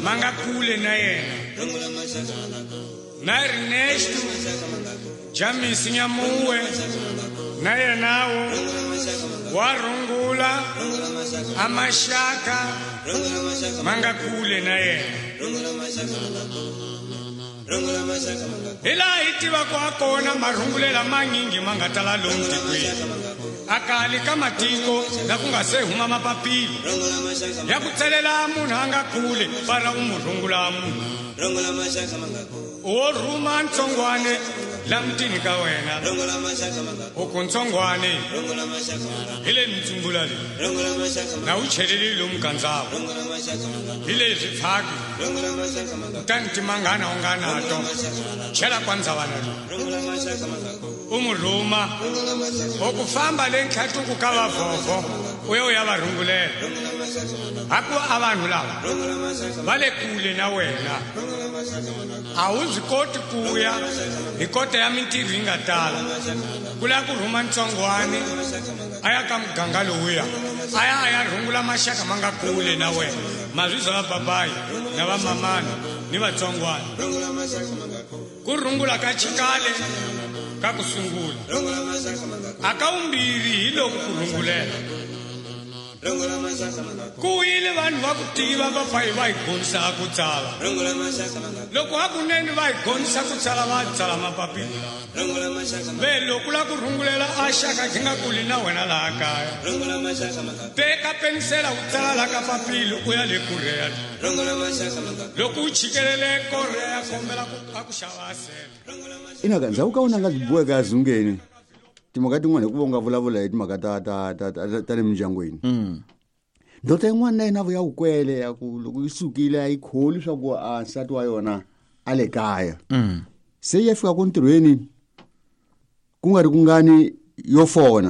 Ma nga kule na yena na Ernesto James Nyamuwe na yenawo wa rungula a maxaka ma nga kule na yena hi laha hi tivaka ha kona marungulela manyingi ma nga tala lomu tikweni a kali ka matiko la ku nga se huma mapapila ya ku tselela munhu a nga kule fana u mu rungula munhu wo rhuma ntsongwane la mutini ka wena u ku ntsongwane hi le mintsumbula leyi na wu cheleli lomu gandzavo hi leswi pfhaki kutani timangana u nga nato chela kwa ndzavana leyi u mu rhuma u ku famba le ntlhatuku ka vavhovho u ya u ya va rhungulela hakuva a vanhu lava va le kule na wena a wu swi koti ku ya hi kota ya mintirho yi nga tala ku lava ku rhuma ntsongwani a ya ka muganga lowuya a ya a ya rhungula maxaka ma nga kule na wena mazwizwa va babayi na vamamana ni vatsongwana ku rhungula ka chikale ka ku sungula a ka vumbirhi hi loko ku rhungulela ku yile vanhu va ku tiva va fa hi va hi gonisa ku tsala loko hakunene va hi gonisa ku tsala va tsala mapapila ve loko la ku rhungulela a xaka xi nga kuli na wena laha kaya teka penisela u tsala la ka papila u ya le korea loko u chikelele korea kombela ku a ku xava sele ina ka ndzhaku ka wona nga byi boheka azungeni timhaka tin'wana hikuva u nga vulavula hi timhaka ta ta ta ta ta le mindyangwini ndoda yin'wana na yena vuya wukwele ya ku loko yi sukile a yi kholi swa ku a nsati wa yona a le kaya se yi ya fika ku ntirhweni ku nga ri kungani yo fona.